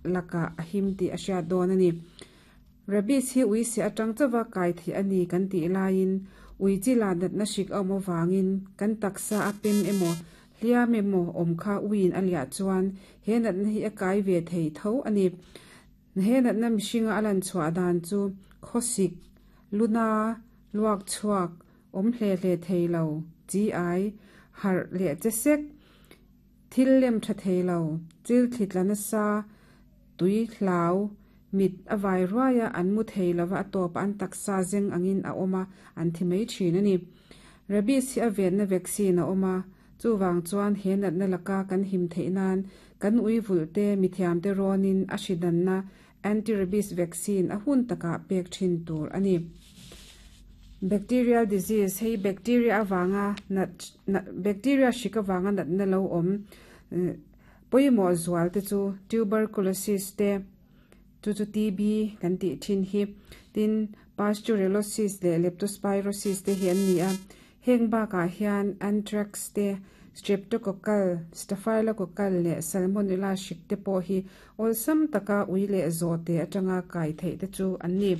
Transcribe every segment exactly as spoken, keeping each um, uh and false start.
lakah a him tih a hriat dawn a ni. Rabies hi ui seh atang chauha kai theih a ni kan tih laiin ui chila natna hrik a awm avangin kan taksa a pem emaw hliam emaw awm kha uiin a liah chuan he natna hi a kai ve thei tho a ni. He natna mihringa a lan chhuah dan chu khawsik, luna, luak chhuak, awm hle hle thei lo, chi ai, harh leh che sek, thil lem tha thei lo, chil thli tla nasa, tui hlau, mit a vai ruaia an mu thei lova a tawp an taksa zeng angin a awm a, an thi mai thin a ni. Rabies hi a venna vaccine a awm a, chuwang chuan he natna laka kan him theih nan kan ui vulh te mithiam te rawnin a hridanna anti-rabies vaccine a hun takah pek thin tur a ni. Bacterial disease hei bacteria awanga nat bacteria hrik awanga natna lo awm pawimawh zual te chu tuberculosis te chu chu T B kan tih thin hi, tin pasteurellosis leh leptospirosis te hi an ni a. Heng bakah hian anthrax te, streptococcal, staphylococcal leh salmonella hrik te pawh hi awlsam taka ui leh zawhte atanga kai theih te chu an ni.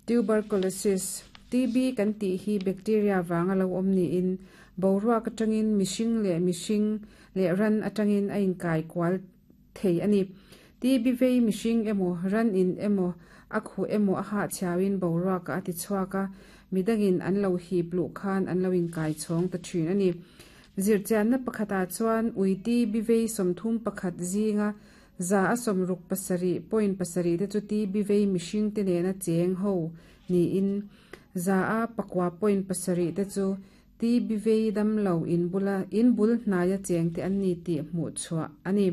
Tuberculosis, T B kan tih hi bacteria wanga lo awm niin boruak atangin mihring leh mihring leh ran atangin a inkai kual thei a ni. T B vei mihring emaw ran in emaw a khuh emaw a hah chhiawin boruak a ti chhuak a, midangin an lo hip luh khan an lo inkai chhawng ta thin a ni. Zirchianna pakhatah chuan ui T B vei sawmthum pakhat zinga za a sawmruk pasarih point pasarih te chu T B vei mihring te nena cheng ho niin za a pakua point pasarih te chu T B vei damlo in bula in bul hnaia cheng te an ni tih hmuh chhuah a ni.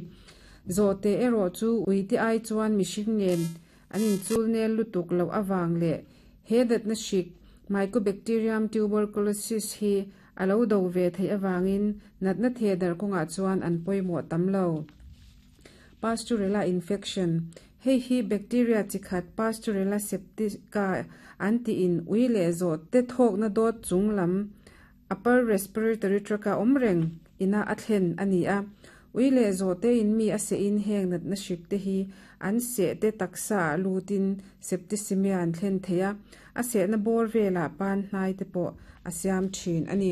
Zawhte erawh chu uite ai chuan mihring nen an inchul nel lutuk loh awang leh he natna hrik Mycobacterium tuberculosis hi a lo do ve theih awangin natna the dar kawngah chuan an pawimawh tam lo. Pasteurella infection hei hi bacteria chikhat Pasteurella septica an tiin ui leh zawhte thawkna dawt chung lam upper respiratory tract a awm reng ina a thlen a ni a. Ui leh zawhte in mi a seh in heng natna hrik te hi an seh te taksa ah lutin septicemia an thlen thei a, a sehna bawr velah pan hnai te pawh a siam thin a ni.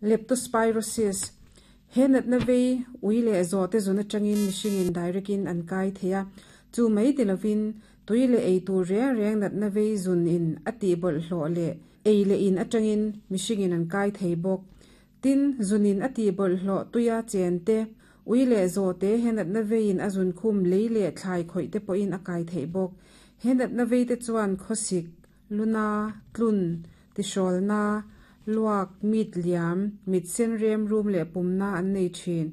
Leptospirosis he natna vei ui leh zawhte zun atangin mihringin direct in an kai thei a, chu mai ti lovin tui leh ei tur reng reng natna vei zun in a tih bawlhhlawh leh ei leh in atangin mihringin an kai thei bawk. Tin zunin a tih bawlhhlawh tuia chen te, ui leh zawhte he natna veiin a zun khum lei leh thlai khawih te pawhin a kai theih bawk. He natna vei te chuan khawsik, luna, tlun, tihrawlna, luak, mit liam, mit sen rem rum leh pumna an nei thin.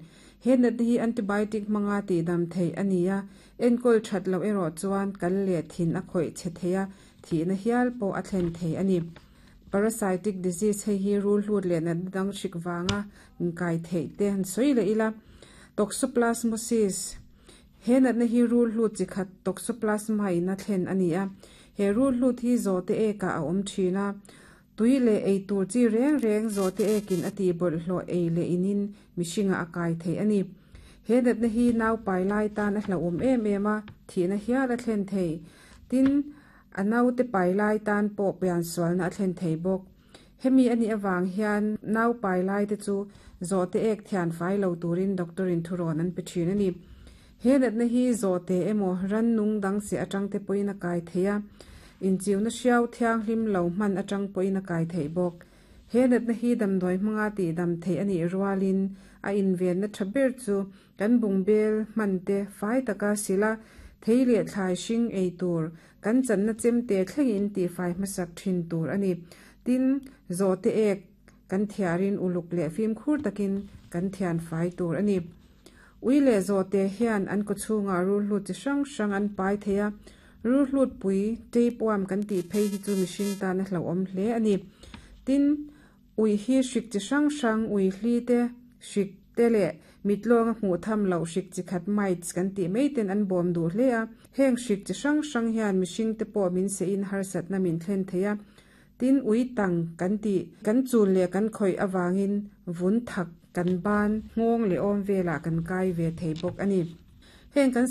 He natna hi antibiotic hmanga tih dam theih a ni a, enkawl that loh erawh chuan kal leh thin a khawih che thei a, thihna hial pawh a thlen thei a ni. Parasitic disease hei hi rul hlut leh natna dang hrik wanga inkai theih te han sawi leh ila. Toxoplasmosis he natna hi rul hlut chikhat toxoplasma in a thlen a ni a. He rul hlut hi zawhte ekah a awm thin a, tui leh ei tur chi reng reng zawhte ekin a tih bawlhhlawh ei leh inin mihringa a kai theih a ni. He natna hi nau pai lai tan a hlauhawm em em a, thihna hial a thlen thei. Tin a naute pai lai tan pawh pian sualna a thlen thei bawk. Hemi ani awang hian nau pai lai te chu zawhte ek thian fai lo turin doctor in thurawn an pe thin a ni. He natna hi zawhte emaw ran nung dang se atang te pawhin a kai thei a, inchiuna hriau thianghlim lo hman atang pawhin a kai theih bawk. He natna hi damdawi hmanga tih dam theih a nih rualin a invenna tha ber chu kan bungbel hman te fai taka sila, thei leh thlai hring ei tur, kan channa chemte thlengin tih fai hmasak thin tur a ni. Tin zawhte ek kan thiarin uluk leh fimkhur takin kan thian fai tur a ni. Ui leh zawhte hian an kawchhungah rul hlut chi hrang hrang an pai thei a, rul hlut pui tapeworm kan tih phei hi chu mihring tan a hlauhawm hle a ni. Tin ui hi hrik chi hrang hrang ui hli te, hrik te leh mitlawng a hmuh tham loh hrik chi khat mites kan tih mai ten an bawm duh hle a. Heng hrik chi hrang hrang hian mihring te pawh min seh in harsatna min thlen thei a. Tin ui tang kan tih kan chul leh kan khawih awangin vun thak kan ban nghawng leh awm velah kan kai ve thei bawk a ni. Heng kan